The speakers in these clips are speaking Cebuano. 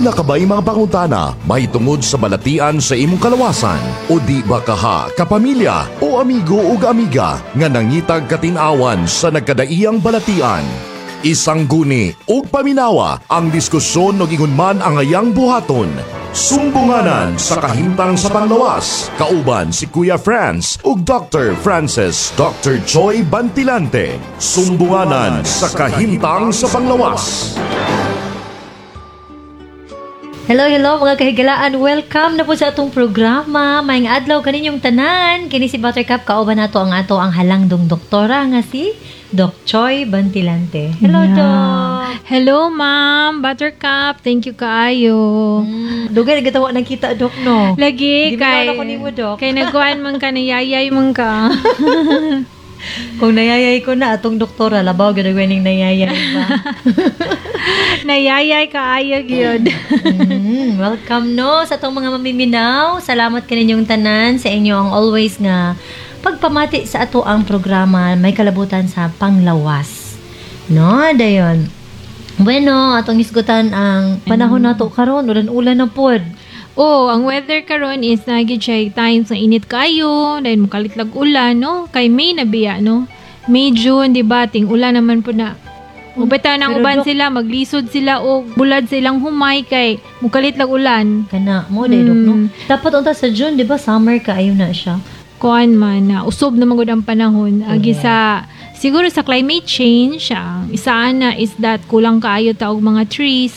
Aduna ka ba'y mga pangutana mahitungod sa balatian sa imong kalawasan? O di ba kaha, kapamilya o amigo ug amiga nga nangitag katin-awan sa nagkadaiyang balatian? Isang guni ug paminawa ang diskusyon og ingon man ang ayang buhaton. Sumbunganan sa kahimtang sa panglawas. Kauban si Kuya Franz ug Dr. Francis Dr. Choi Bantilante. Sumbunganan sa kahimtang sa panglawas. Hello, hello mga kahigalaan. Welcome na po sa atong programa. Maayong adlaw kaninyong tanan. Kini si Buttercup, kauban nato ang ato ang halangdong doktora nga si Doc Choi Bantilante. Hello, Doc. Hello, ma'am. Buttercup. Thank you kaayo. Dugay na gitawa nang kita, Doc, no? Lagi, Di kay bitaw na ko nimo, Doc. Kay nagkuan man ka, nayayay man ka. Kung nayayay ko na atong doktora, labaw gyud og ning nayayay ba. Nayayay kaayo gyud. Welcome no sa atong mga mamiminaw. Salamat kaninyong tanan sa inyo ang always nga pagpamati sa ato ang programa may kalabutan sa panglawas. No, dayon. Bueno, atong isgutan ang panahon nato karon, ulan-ulan na pod. Oh, ang weather karon is nagi siya times na init kayo, dahil mukalit lag ulan, no? Kay May na biya, no? May, June, di ba? Ting ulan naman po na. Ubeta nang Pero uban Dok, sila, maglisod sila o bulad silang humay kay mukalit lag ulan. Kana mo day, Dok, no? Dapat unta sa June, di ba? Summer kaayo na siya. Kuan man na usob na magud ang panahon agi sa siguro sa climate change. Ang isaan na is that kulang kaayo ta og mga trees,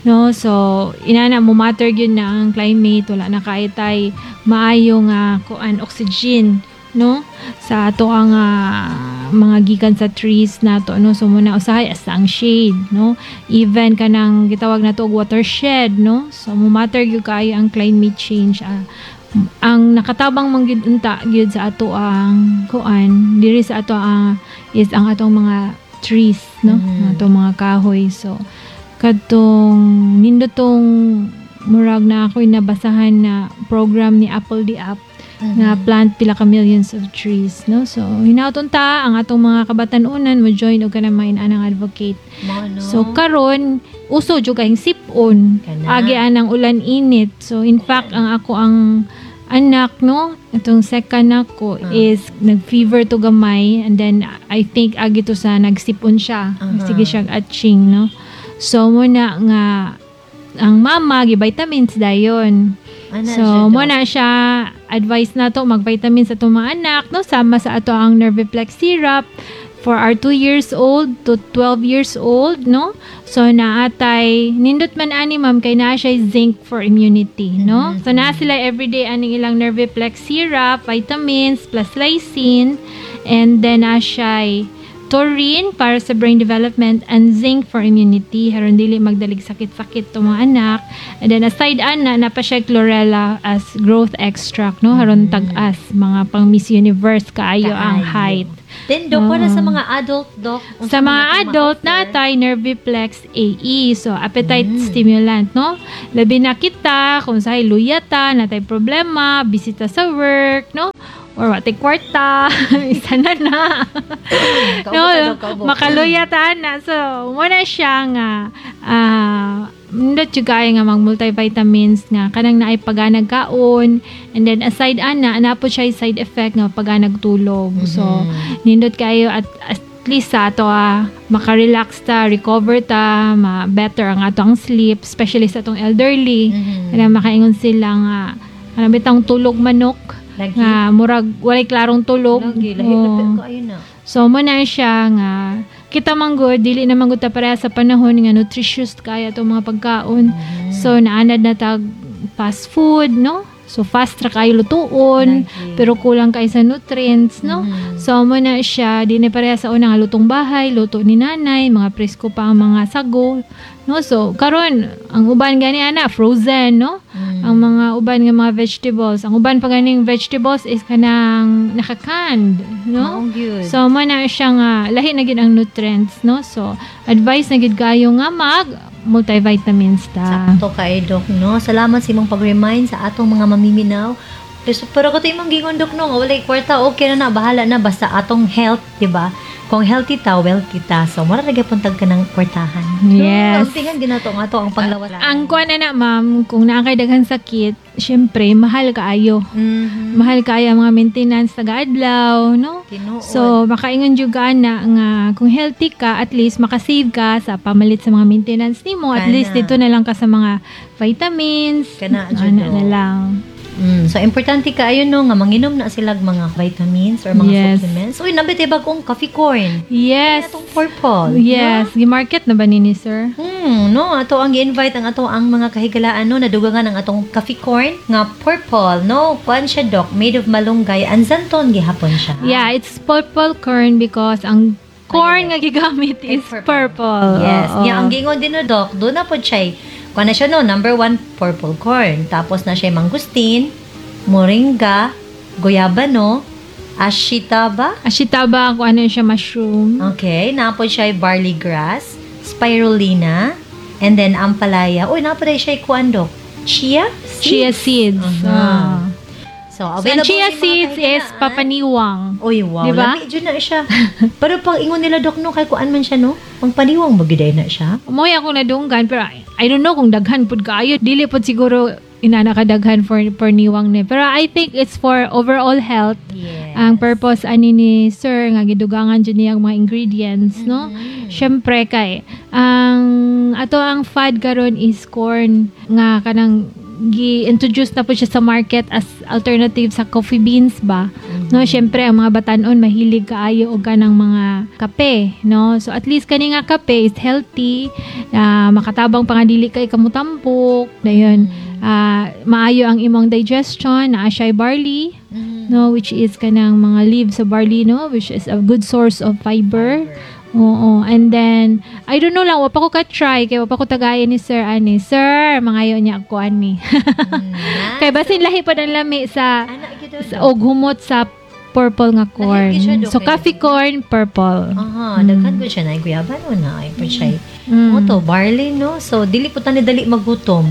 no? So inana mo matter gyud na ang climate, wala na kaayo tay maayo nga kuan, oxygen, no, sa ato ang mga gikan sa trees nato, no? So muna usahay as ang shade, no, even kanang gitawag nato og watershed, no? So mo matter gyud kaayo ang climate change. Ang nakatabang man gyud unta gyud sa ato ang kuan diri sa ato ang is ang atong mga trees, no? Ang atong mga kahoy. So kadtong nindotong murag na ako'y nabasahan na program ni apl.de.ap nga plant pila ka millions of trees, no? So hinaut unta ang atong mga kabatan-unan mo join og kanang mga inanang advocate. Mo, no? So karon uso jud kayong sipon. Kana. Agi anang ulan init. So in fact, ang ako ang anak, no, itong second nako is nag-fever to gamay and then I think agi to sa nagsipon siya. Sige siya atching, no? So mo na nga ang mama gi vitamins dayon. Ana So, siya, Dok. mo na siya advice na to mag-vitamins sa atong mga anak, no? Sama sa ato ang Nerviplex syrup for our 2 years old to 12 years old, no? So, naatay, nindot man ani, ma'am, kay naa siya zinc for immunity, no? So, naa sila everyday aning ilang Nerviplex syrup, vitamins, plus lysine, and then naa siya taurine para sa brain development and zinc for immunity haron dili magdalig sakit-sakit to mga anak. And then aside ana, napa siya chlorella as growth extract, no, haron tag-as, mga pang Miss Universe kaayo ang Kaayo. Height. Then, Dok, para sa mga adult, Doc, unsa Sa mga man atong adult ma-offer? natay Nerviplex AE. So appetite stimulant, no? Labi na kita kung sa luya ta, natay problema, bisita sa work, no? Or watay kwarta, isa na na. Kaubo No, ta, Dok, kaubo. makaluya ta na. So, muna siya nga nindot jud kaayo nga mag multivitamins nga kanang naay paganag kaon, and then aside ana, ana po siya side effect nga paganag tulog. So nindot kayo at least sa ato makarelax ta, recover ta, ma better ang ato ang sleep, especially sa atong elderly. Kanang makaingon sila nga kanang bitang tulog manok Lagi. nga murag walay klarong tulog. Lagi, lahi Oo. na kaayo na. So mo na siya nga kita man gud dili na man gud ta pareha sa panahon nga nutritious kaya atong mga pagkaon. So naanad na tag fast food, no? So fast ra kayo lutuon, Lagi. pero kulang kay sa nutrients, no? So mo na siya di na pareha sa una nga lutong bahay, luto ni nanay, mga presko pa ang mga sago, no? So karon ang uban gani ana frozen, no? Ang mga uban nga mga vegetables, ang uban pa ganing vegetables is kanang naka-canned, no? Maong gyud. So mo na siya nga lahi na gid ang nutrients, no? So advice na gid kayo nga mag multivitamins ta. Sakto kay Doc, no? Salamat sa imong pag-remind sa atong mga mamiminaw. Pero kato imong gingon, Dok, no, nga walay kwarta, okay na na, bahala na, basta atong health, di ba? Kung healthy ta, wealthy ta. So, mura na gyapon tag kanang kwartahan. Yes. No, ampingan ginato nga to ang panglawas. Ang kuan na na, ma'am, kung naa kay daghan sakit, syempre mahal kaayo. Mahal kaayo ang mga maintenance taga-adlaw, no? Tinuod. So, makaingon jud ka na nga kung healthy ka, at least makasave ka sa pamalit sa mga maintenance nimo. At Kana. least dito na lang ka sa mga vitamins. Kana, jud, Ana no. na lang. So importante kaayo, no, nga manginom na sila mga vitamins or mga supplements. Uy, nabit bagong coffee corn. Atong purple. Yes, gi-market na ba ni sir? No, ato ang gi-invite ang ato ang mga kahigalaan, no, nadugangan ang atong coffee corn nga purple, no. Kuan siya, Doc, made of malunggay and xanthone gihapon siya. Yeah, it's purple corn because ang corn nga gigamit is purple. Yes. Oo. Nya ang gingon din, no, Doc, do na pod siya. Kuan na siya, no, number 1 purple corn. Tapos na siya mangosteen, moringa, guyabano, ashitaba. Ashitaba, kung ano siya, mushroom. Okay, naa pod siya barley grass, spirulina, and then ampalaya. Uy, naa pod siya kuan, Doc. Chia? Seeds? Chia seeds. Ah. So, So, ang available chia sa mga seeds is kahigalaan. papaniwang. Uy, wow. Diba? Lami jud na siya. Pero pag ingon nila, Doc, no, kay kuan man siya, no? Pang paniwang ba gyud na siya? Moy ako nadunggan pero I don't know kung daghan pud kaayo. Dili pud siguro inana kadaghan for niwang ni. Pero I think it's for overall health. Ang purpose ani ni sir nga gidugangan jud niya ang mga ingredients, no? Syempre kay ang ato ang fad karon is corn nga kanang gi-introduce na po siya sa market as alternative sa coffee beans ba, no? Syempre ang mga batanon mahilig kaayo og kanang mga kape, no? So at least kani nga kape is healthy, makatabang pa nga dili kay kamutampok dayon, maayo ang imong digestion, naa siya barley, no, which is kanang mga leaves sa barley, no, which is a good source of fiber. Oo. And then, I don't know lang, wa pa ko ka-try, kay wa pa ko tagayan ni Sir ani. Sir, mangayo niya ako ani. Kay basin lahi pa ang lami sa, Ana gyud sa og humot sa purple nga corn. Lahi gyud siya, Dok, So, eh. coffee corn, purple. Aha, daghan ko siya na guyabano na ay pa siya. Mo to barley, no. So dili po tani dali magutom.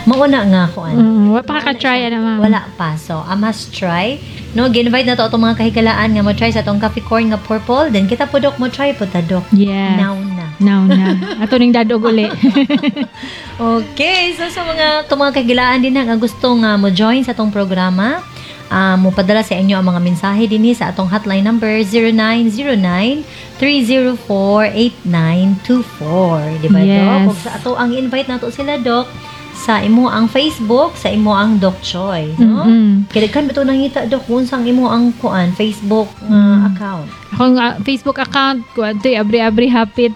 Mauna nga kuan. Wa pa ka ka-try ana, ma'am. Wala pa. So, I must try. No, gi-invite na to atong mga kahigalaan nga mo try sa atong coffee corn nga purple. Then kita po, Dok, mo try po ta, Dok. Yes. Now na. Now na. Ato ning dadog uli. Okay, so sa mga itong mga kahigalaan din nga gusto nga mo join sa atong programa, mo padala sa inyo ang mga mensahe dinhi sa atong hotline number 0909-304-8924. Di ba, Yes. Dok? Ug sa ato ang invite nato sila, Dok, sa imo ang Facebook, sa imo ang Doc Choi, no? Mm-mm. Kaya daghan ba ito nangita, Dok, kung unsang imo ang kuan Facebook nga account? Akong Facebook account ko adtoy abri-abri hapit.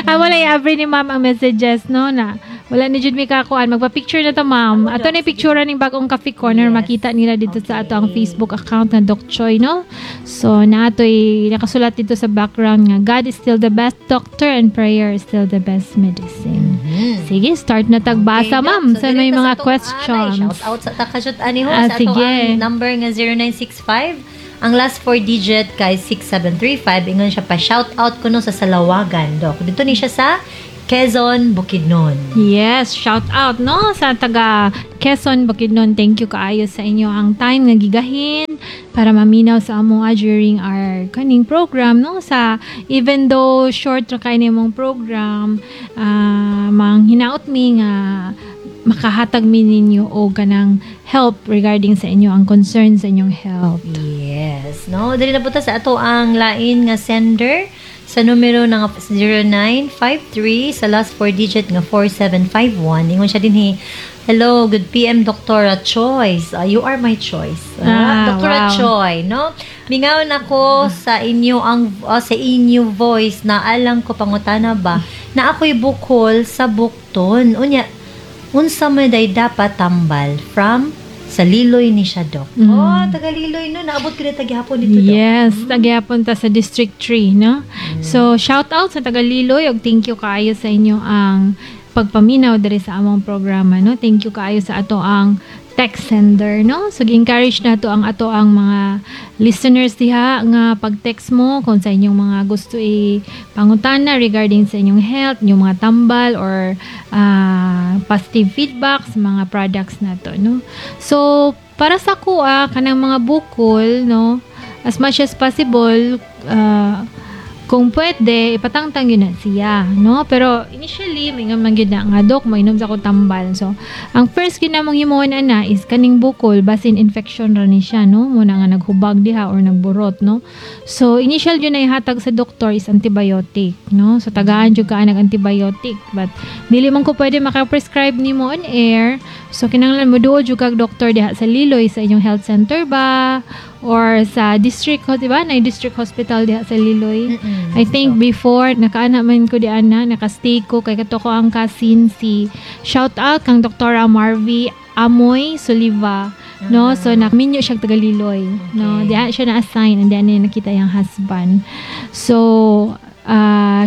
Wala i-abri ni ma'am ang messages, no, na wala ni jud mi kakuan, magpa-picture na ta, ma'am. Ako, Ato Doc, na picture ning bagong coffee corner, makita nila dito sa ato ang Facebook account na Doc Choi, no? So naatoy nakasulat dito sa background nga God is still the best doctor and prayer is still the best medicine. Sige, start na tagbasa, Okay, Doc. ma'am, So, sa may direct mga sa atong questions. Anay, shout out sa takashoot ani ho sa ato Sige. ang number nga 0965. Ang last four digit kay 6735. Ingon siya pa shout out kuno sa Salawagan, Doc. Dito ni siya sa Quezon, Bukidnon. Yes, shout out, no, sa taga Quezon, Bukidnon. Thank you kaayo sa inyo ang time nga gigahin para maminaw sa amo during our kaning program, no, sa even though short ra kay nimong program, mang hinaot mi nga makahatag mi ninyo og kanang help regarding sa inyo ang concern sa inyong health. Yes, no. Dali na po ta sa ato ang lain nga sender sa numero nga 0953 sa last four digit nga 4751. Ingon siya dinhi, "Hello, good PM, Dr. Choice. You are my choice." Dr. Choi, no? Mingaw ako sa inyo ang sa inyo voice na alang ko pangutana ba na ako'y bukol sa bukton. Unya, unsa man day dapat tambal from sa Liloy ni siya, Doc. Oh, taga Liloy, no. Naabot ko na taghapon dito, Doc. Yes, tagyapon ta sa District 3, no? So, shout out sa taga Liloy ug thank you kaayo sa inyo ang pagpaminaw diri sa among programa, no? Thank you kaayo sa ato ang Text sender, no? So gi-encourage nato ang ato ang mga listeners diha nga pag-text mo kung sa inyong mga gusto i pangutana regarding sa inyong health, inyong mga tambal or positive feedback sa mga products nato, no? So para sa kuha kanang mga bukol, no? As much as possible, kung pwede, ipatangtang gyud na siya, no? Pero initially, may nga man gyud na nga, "Dok, mainom sa ko tambal." So, ang first gyud namong himuon ana is kaning bukol, basin infection ra ni siya, no? Muna nga naghubag diha or nagburot, no? So, initial gyud na ihatag sa doktor is antibiotic, no? So, tagaan jud ka nag antibiotic. But, dili man ko pwede maka-prescribe nimo on air. So, kinahanglan mo duol jud kag doktor diha sa Liloy, sa inyong health center ba? Or sa district, di ba? Na district hospital diha sa Liloy. I think before, nakaana man ko di ana, nakastay ko, kay kato ko ang cousin si, shout out kang Dr. Marvy Amoy Soliva, no? So, naminyo siya taga Liloy, no? Diha siya na-assign and diha niya nakita yung husband. So,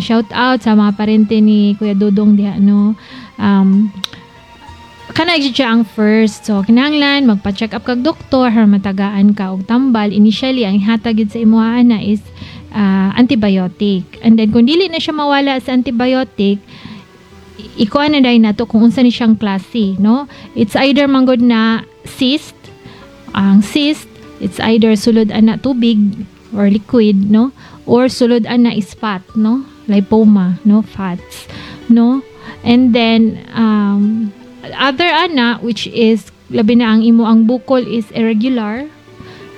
shout out sa mga parente ni Kuya Dudong diha, no? Kana gyud siya ang first. So, kinahanglan magpa-check up kag doktor aron matagaan ka og tambal. Initially, ang hatag gyud sa imuha na is antibiotic. And then kung dili na siya mawala sa antibiotic, ikuha na dahil nato kung unsa ni siyang klase, no? It's either manggod na cyst, ang cyst, it's either sulod ana tubig or liquid, no? Or sulod ana is fat, no? Lipoma, no? Fats, no? And then other ana, which is labi na ang imo ang bukol is irregular,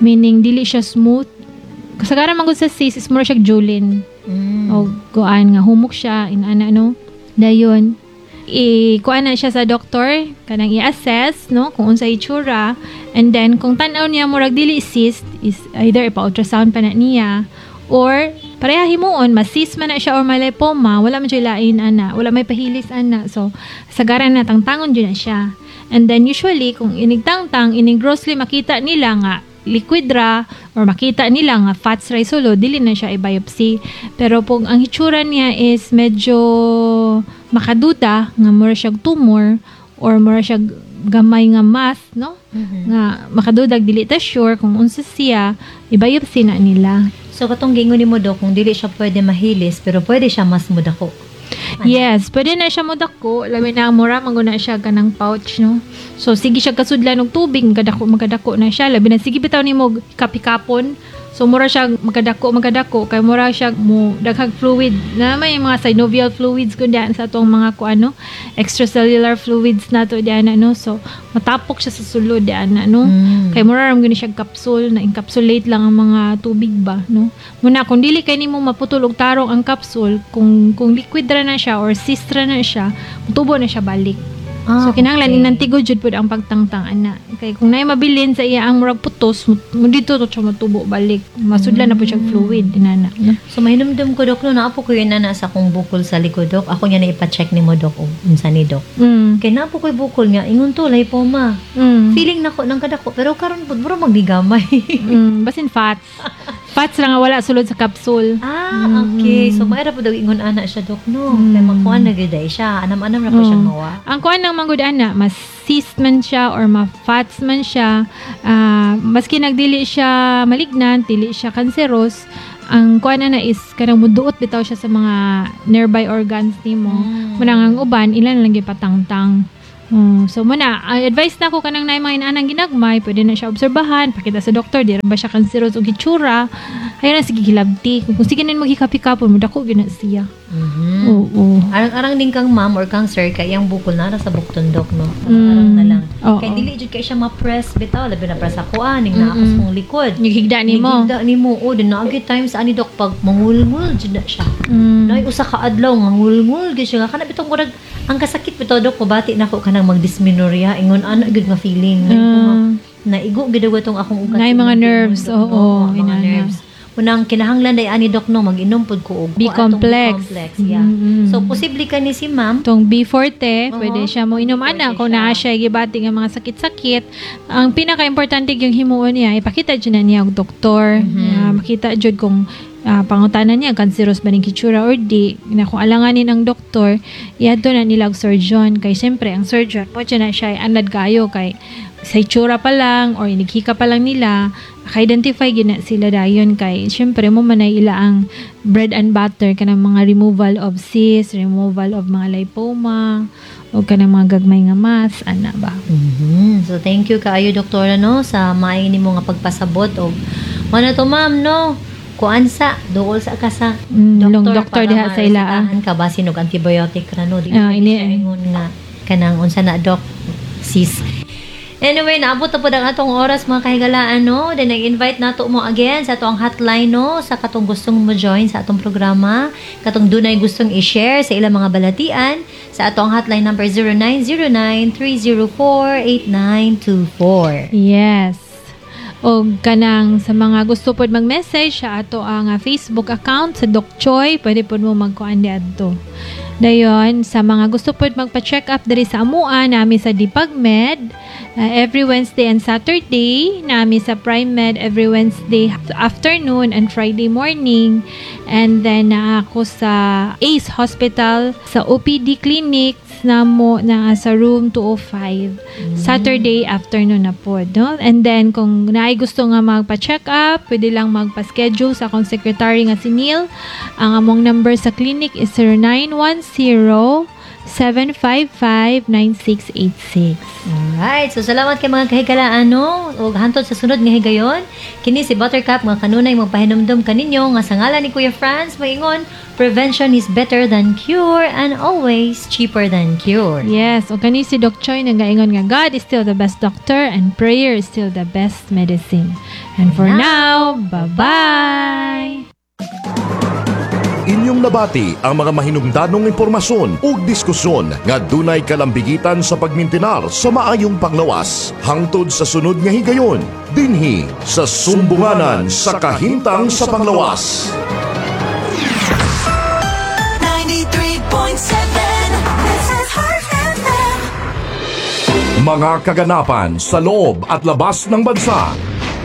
meaning dili siya smooth. Kasagaran man gud sa cyst is mura siya julin o kuan nga humok siya in ana, no? Dayon i kuan na siya sa doktor, kanang i-assess, no, kung unsa itsura, and then kung tan-aw niya murag dili cyst is either ipa-ultrasound pa na niya or pareha himuon, ma-cyst man na siya or malipoma, wala man siya lain ana, wala may pahilis ana. So sagaran na tangtangon jud na siya. And then usually kung inigtangtang, inig grossly makita nila nga liquid ra or makita nila nga fats ra sulod, dili na siya i-biopsy. Pero kung ang hitsura niya is medyo makaduda nga mura siya tumor or mura siya gamay nga mass, no, nga makadudag, dili ta sure kung unsa siya, i-biopsy na nila. So katong giingon nimo, Dok, kung dili siya pwede mahilis pero pwede siya mas mudako. Yes, pwede na siya modako, labi na mura man gud na siya kanang pouch, no? So sige siya kasudlan og tubig, magkadako magkadako na siya, labi na sige bitaw nimo kapikapon. So mura siya magkadako magkadako kay mura siya mo daghag fluid na may mga synovial fluids kun diyan sa atong mga kuano, extracellular fluids nato diyan, no? So matapok siya sa sulod diyan, no? Kay mura ra man gani siya capsule na encapsulate lang ang mga tubig ba, no? Muna kung dili kay nimo maputol og tarong ang capsule, kung liquid ra na siya or cyst ra na siya, mutubo na siya balik. So kinahanglan inantigod jud pud ang pagtangtang ana. Kay kung naay mabilin sa iya ang murag putos, mo dito to siya motubo balik. Masudlan na pud siya fluid inana, no? So mahinumdum ko, Dok, no, naa po ko yun na sa akong bukol sa likod, Dok. Ako niya na ipa-check nimo, Dok, og unsa ni, Dok. Kay naa po ko'y bukol nga ingon to lipoma. Feeling nako nang kadako pero karon pud mura magnigamay. Basin fats. Fats lang nga wala sulod sa capsule. Ah, okay. So maera po daw ingon ana siya, Dok, no. Kay makuan na gyud ay siya. Anam-anam ra po siyang mawa. Ang kuan ng manggod ana, mas cyst man siya or ma-fats man siya, maski nagdili siya malignant, dili siya cancerous, ang kuan ana is kanang muduot bitaw siya sa mga nearby organs nimo. Munang ang uban ilan lang gipatangtang. So muna, advice na ko kanang naay mga inaanang ginagmay, pwede na siya obserbahan, pakita sa doktor, di ra ba siya cancerous og hitsura. Ayaw na sige hilabti. Kung sige na maghikap-hikapon, mudako gyud na siya. Oo. Arang-arang din kang ma'am or kang sir kay ang bukol na sa bukton, Dok, no. Arang-arang na lang. Kay dili jud kay siya ma-press bitaw, labi na press ako ning naa ako sa kong likod. Naghigda nimo. Naghigda nimo. Oh, din naagi times ani, Dok, pag mangulngul jud na siya. Naay usa ka adlaw ngangulngul gyud siya. Kana bitong murag ang kasakit bitaw, Dok, mabati nako kanang magdysmenorrhea, ingon ana gyud nga feeling. Naigo gyud tong akong ugat. Naay mga nerves, Dok, oo, no? Mga inana. nerves. Unang kinahanglan day ani, Dok, no, mag-inom pud ko og B complex. B complex, yeah. So posible ka ni si ma'am. Tong B forte, pwede siya mo inom ana kung siya. Naa siya gibati nga mga sakit-sakit. Ang pinaka-importante yung himuon niya, ipakita jud na niya og doktor. Nga makita jud kung pangutana niya cancerous ba ning hitsura or di. Na kung alanganin ang doktor, iadto na nila og surgeon kay syempre ang surgeon mo na siya ay anad kayo kay Sa itsura pa lang or inighika pa lang nila, maka-identify gyud na sila dayon kay syempre mao man ay ila ang bread and butter, kanang mga removal of cysts, removal of mga lipoma o kanang mga gagmay nga mass ana ba. So thank you kaayo, Doktora, no, sa maayo nimo nga pagpasabot og mao na to, ma'am, no. Kuan sa duol sa ka sa Long doktor para diha sa ila, ah. maresetahan ka basin og antibiotic ra, no. Di Ah, ah, ingon nga kanang unsa na, doc, sis. Anyway, naabot na po ang atong oras, mga kahigalaan, no. Then nag-invite nato mo again sa atong hotline, no, sa katong gustong mo join sa atong programa, katong dunay gustong i-share sa ilang mga balatian sa atong hotline number 0909-304-8924. Yes. O kanang sa mga gusto pod mag-message sa ato ang Facebook account sa Doc Choi, pwede pod mo magkuan diadto. Dayon, sa mga gusto pod magpa-check up diri sa amua nami sa Dipagmed every Wednesday and Saturday, nami sa Prime Med every Wednesday afternoon and Friday morning. And then naa ako sa Ace Hospital sa OPD clinics namo na sa room 205, Saturday afternoon na po, no? And then kung naay gusto nga magpa-check up, pwede lang magpa-schedule sa akong secretary nga si Neil. Ang among number sa clinic is 0910 755-9686. Alright. So, salamat kay mga kahigalaan, no? Ug hantod sa sunod nga higayon, kini si Buttercup mga kanunay magpahinumdum kaninyo nga sa ngalan ni Kuya Franz maingon, prevention is better than cure and always cheaper than cure. Yes, o kani si Doc Choi nagaingon nga God is still the best doctor and prayer is still the best medicine. And for now, bye-bye! Inyong nabati ang mga mahinungdanong impormasyon ug diskusyon nga dunay kalambigitan sa pagmintinar sa maayong panglawas. Hangtod sa sunod nga higayon, dinhi sa Sumbunganan sa Kahimtang sa Panglawas. 93.7. This is Heart FM. Mga kaganapan sa loob at labas ng bansa.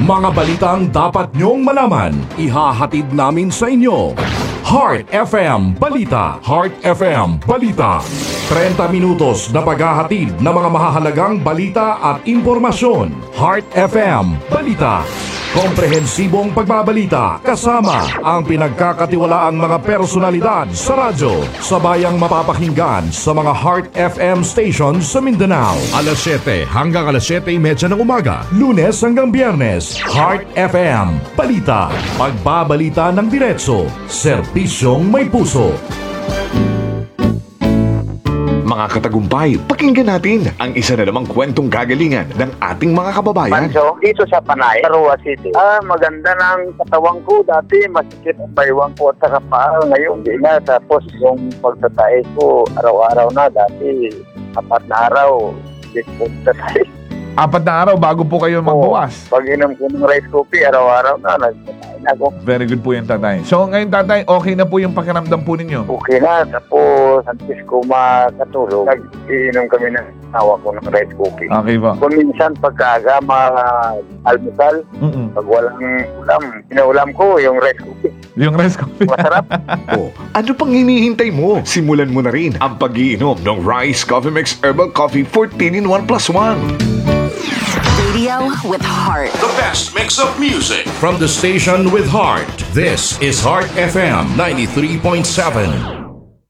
Mga balitang dapat nyong malaman, ihahatid namin sa inyo. Heart FM Balita. Heart FM Balita. 30 minutos na paghahatid ng mga mahahalagang balita at impormasyon. Heart FM Balita. Komprehensibong pagbabalita kasama ang pinagkakatiwalaang mga personalidad sa radyo sa bayang mapapakinggan sa mga Heart FM stations sa Mindanao. Alas 7 hanggang alas 7:30 ng umaga, Lunes hanggang Biyernes. Heart FM Balita. Pagbabalita ng diretso, serbisyong may puso. Mga katagumpay, pakinggan natin ang isa na namang kwentong kagalingan ng ating mga kababayan. Pancho, dito sa Panay, Roxas City. Ah, maganda ng katawan ko. Dati, masikip ang baywang ko at saka paa. Ngayon, hindi na. Tapos, yung pagtatae ko, araw-araw na. Dati, 4 na araw, hindi ko pagtatae. 4 na araw bago po kayo magbawas. Pag inom ko ng rice coffee, araw-araw na, nagtatae na ako. Very good po yan, tatay. So ngayon, tatay, okay na po yung pakiramdam po ninyo? Okay na. Tapos, antes ko makatulog, nag-iinom kami ng asawa ko ng rice coffee. Okay po. Kung minsan, pagkaaga, almusal, pag walang ulam, inuulam ko yung rice coffee. Yung rice coffee. Masarap. O, ano pang hinihintay mo? Simulan mo na rin ang pag-iinom ng Rice Coffee Mix Herbal Coffee 14 in 1 plus 1. Radio with heart. The best mix of music from the station with heart. This is Heart FM 93.7.